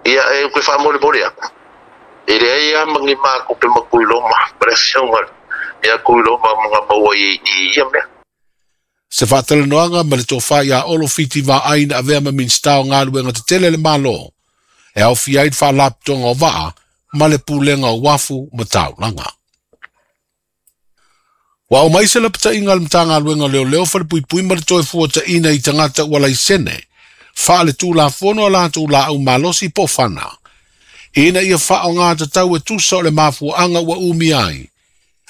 Ia, e ou te faamolemole atu, e leai lava ma ni matou te ma Tuiloma ma le afioga ia Tuiloma na maua i ia mea. Se faatalanoaga ma le Tofa ia Olo Fiti Vaai na avea ma Minisita o Galuega Tetele a le Malo, e aofia ai le Faalapotopotoga o Vaa ma le Pulega o Uafu ma Taulaga. Ua aumai se lapataiga a le Matagaluega o Leoleo, Falepuipui ma le Toefuataiga i tagata ua laisene faaletulafono a latou laau malosi po o fana, ina ia faaaoga tatau e tusa o le mafuaaga ua umia ai,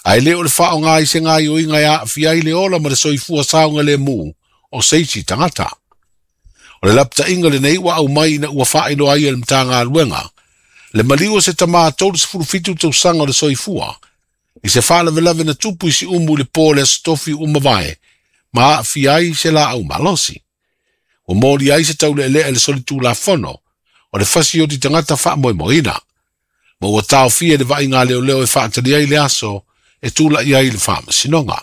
ae le o le faaaoga i se gaoioiga e aafia ai le ola ma le soifua saogalemu o se isi tagata. O le lapataiga lenei ua aumai ina ua faailoa ai e le Matagaluega le maliu o se tama 37 tausaga o le soifua i se faalavelave na tupu i Siumu i le po o le Aso Tofi ua mavae ma aafia ai se laau malosi. Ua moli ai se tauleelea i le solitulafono o le fasioti tagata faamoemoeina, ma ua taofia i le vaaiga a leoleo e faatali ai le aso e tulai ai i le faamasinoga.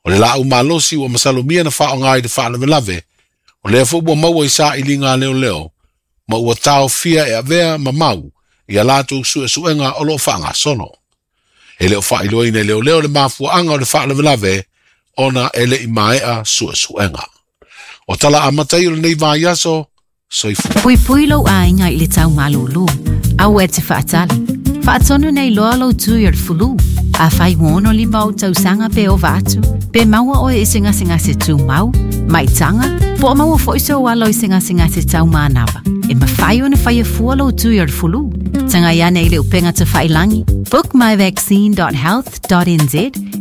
O le laau malosi ua masalomia na faaaoga i le faalavelave, o lea foi ua maua i sailiga a leoleo, ma ua taofia e avea ma mau i a latou suesuega o lo o faagasolo. E le o faailoaina e leoleo le mafuaaga o le faalavelave ona e le i maea suesuega. O tala amata ia o lenei vaiaso, soifua. Puipui lou aiga i le tau malūlū. Aua e te faatali. Faatonu nei loa lou tui o le fulu. Afai ua 65 ou tausaga pe ova atu, pe maua oe i se gasegase tumau, maitaga, po o maua foi sou alo i se gasegase tau manava, e mafai ona faia fua lou tui o le fulu. Tagai ane i le upega tafailangi bookmyvaccine.health.nz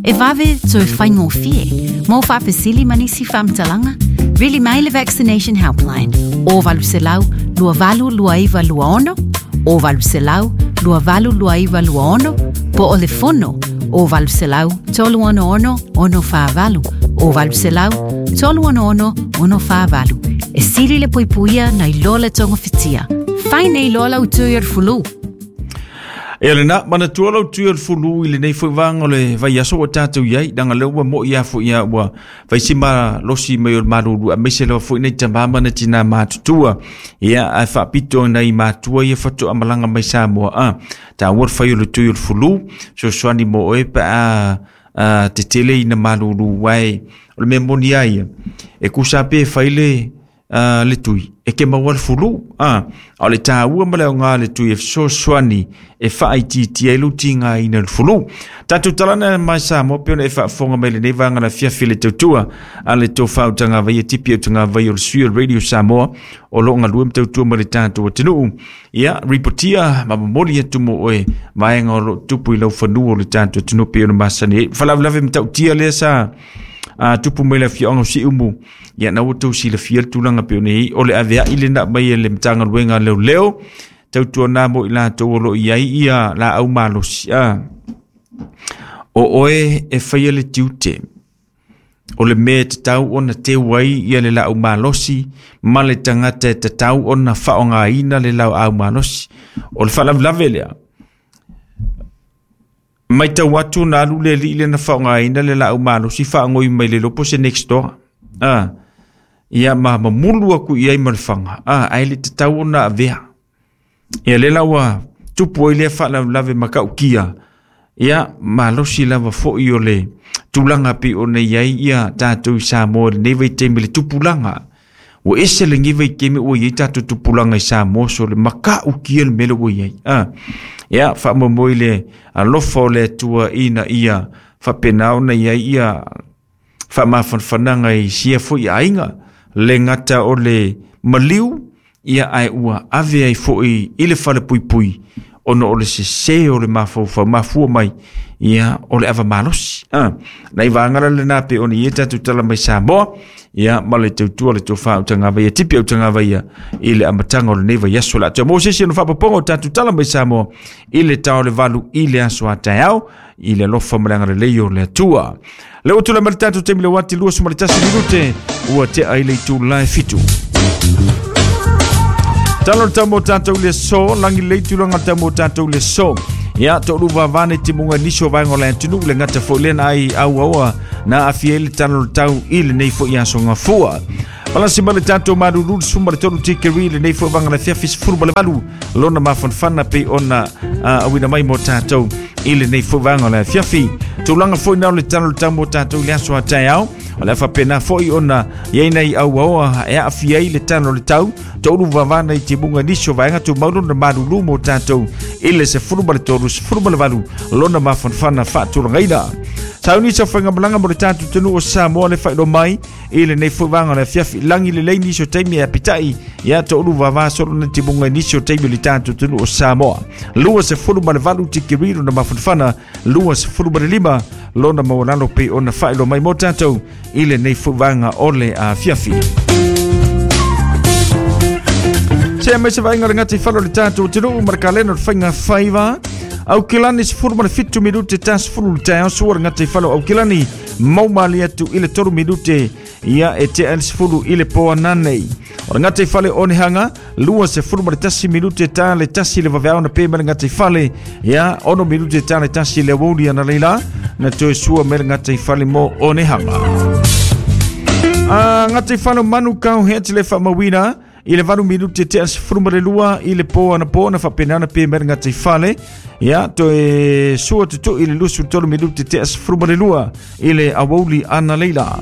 e vave toe faigofie. Mo faafesili ma nisi faamatalaga, vili mai le Vaccination Helpline o 800 282926 o 800 282926 po o le fono o 800 366 648 o 800 366 648. E sili le puipuia nai lo le togafitia. Fai nei loa lau tui o le fulu. E lena, manatua lau tui o le fulu i lenei foi vaega o le vaiaso ua tatou i ai, leaga lea ua moi lava foi ia ua fai si malosi mai o le malulu aemaise lava foi nai tama ma nai tina matutua. Ia, ae faapito nai matua ia faatoa malaga mai Samoa, a, taua le fai o le tui o le fulu, fesoasoani mo oe pe a tetele ina malulu, ae o le mea moni lava ia, e tusa lava pe fai le le tui e ke maua le fulu a o le taua ma le aoga o le tui e fesoasoani e faaitiitia ai lou tigaina i le fulu. Tatou talana mai Samoa pei ona e faafofoga mai lenei vaega le afiafi le tautua a le tofa Utagavaia Tipi Utagavaia o le sui o le Radio Samoa o lo o galue ma tautua mai le tatou atunuu. Ia, ripotia ma momoli atu mo oe vaega o lo o tupu i laufanua o le tatou atunuu pei ona masani ai. Faalavelave matautia lea sa tupu mai le afioaga o Siumu. Ia, na ua outou silafia le tulaga pei ona i ai, o le aveai lena mai e le Matagaluega a Leoleo, tautuana mo i latou o lo o i ai ia laau malosi. A, o oe e faia le tiute, o le mea e tatau ona teu ai ia le laau malosi ma le tagata e tatau ona faaaogaina le laau malosi. O le faalavelave lea, Matau atu na alu le alii lea na faaaogaina le laau malosi faagoi mai le lopo se next door. Ah, ia ma mamulu aku i ai ma le faga. Ah, ae le tatau ona avea. Ia lea la ua tupu ai lea faalavelave matautia. Ia, malosi lava foi o le tulaga pei ona i ai ia tatou i Samoa i lenei vaitaimi i le tupulaga. Ua ese lenei vaitaimi ua i ai tatou tupulaga i Samoa so le matautia le mea lea ua i ai. Ah, ia, faamoemoe i le alofa o le Atua ina ia faapena ona i ai ia faamafanafanaga i sia foi aiga, le gata o le maliu, ia ae ua ave ai foi i le falepuipui ona o le sese o le mafaufau mafua mai ia o le ava malosi. Ah, nai vaega la lena pei ona i ai tatou tala mai Samoa, ia ma le tautua le tofa Utagavaia, Tipi Utagavaia i le amataga o lenei vaiaso. O le a toe maua se isi ona faapopoga o tatou tala mai Samoa i le tao le valu i le aso a taeao i le alofa ma le agalelei o le Atua. Le ua tulai mai le tatou taimi le uati 21 minute ua tea i le itula e 7. Talo le tau mo tatou i le aso, lagi lelei tulaga le tau mo tatou i le aso. Ia, toalua vavane timuga i nisi o vaega o le atunuu, le gata foi lea na ai auaua na aafia ai le talo o le tau i lenei foi aso gafua. Palasi ma le tatou malulu le 13 tikeri lenei foi vaega le afiafi 18 lona mafanafana pei ona auina mai mo tatou i lenei foi vaega o le afiafi. Tulaga foi na o le tala o le tau mo tatou i le aso a taeao, o le a faapena foi ona i ai nai auaoa e aafia ai le tala o le tau, toulu vavana i timuga i nisi o vaega tumau lona malulu mo tatou i le 13 18 lona mafanafana faatulagaina. Sauni sa faigamalaga mo le tatou atunuu o Samoa le faailoa mai i lenei foi vaega o le afiafi lagi lelei nisi o taimi e apitai ia toulu vava solo na timuga i nisi o taimi o le tatou atunuu o Samoa. 28 tikeri lona mafanafana, 25 lona maualalo pei ona faailoa mai mo tatou i lenei foi vaega o le afiafi. Se mai se vaaiga o le gataifale o le tatou atunuu ma le kalena o le faiga faiva. Aukilani 17 minute ta 10 le taeao sua le gataifale o Aukilani mau malie atu i le 3 minute ia e tea le 10 i le po ananei. O le gataifale o Onehanga 21 minute ta le 1 le vaveao na pe mai le gataifale ia 6 minute ta le 1 le aoauli ana leila na toe sua mai le gataifale mo Onehanga. A gataifale o Manukau he ati le faamauina i le 8 minute tea 12 i le po anapo na faapena ona pe mai le gataifale ia toe sua tutui i le 23 minute tea 12 i le aoauli ana leila.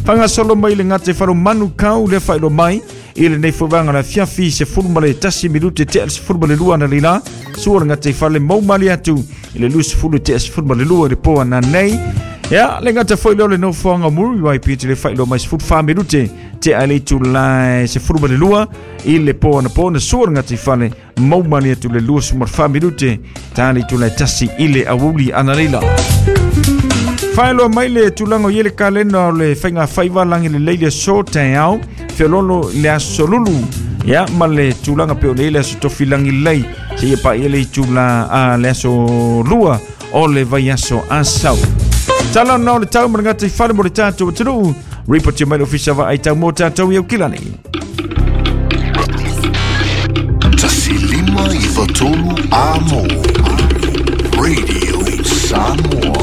Faagasolo mai le gataifale o Manukau le faailoa mai i lenei foi vaega o le afiafi 11 minute tea 12 ana leila sua le gataifale mau malie atu i le 20 tea 12 i le po ananei. Ia, le gata foi lea o le nofoaga o Muriwai te le faailoa mai 14 minute tea le itula e 12 i le po anapo na sua le gataifale mau malie atu le 24 minute ta le itula e 1 i le aoauli ana leila. Faailoa mai le tulaga o i ai le kalena o le faiga faiva lagi lelei le aso taeao feoloolo i le aso lulu ia ma le tulaga pei ona i ai le aso tofi lagi lelei seia paia le itula a le aso lua o le vaiaso asau. Tala ona o le tau ma le gataifale mo le tatou atunuu. Ripoti mai le Ofisa Vaai Tau mo tatou i Aukilani. 1593 Amo Radio Samoa.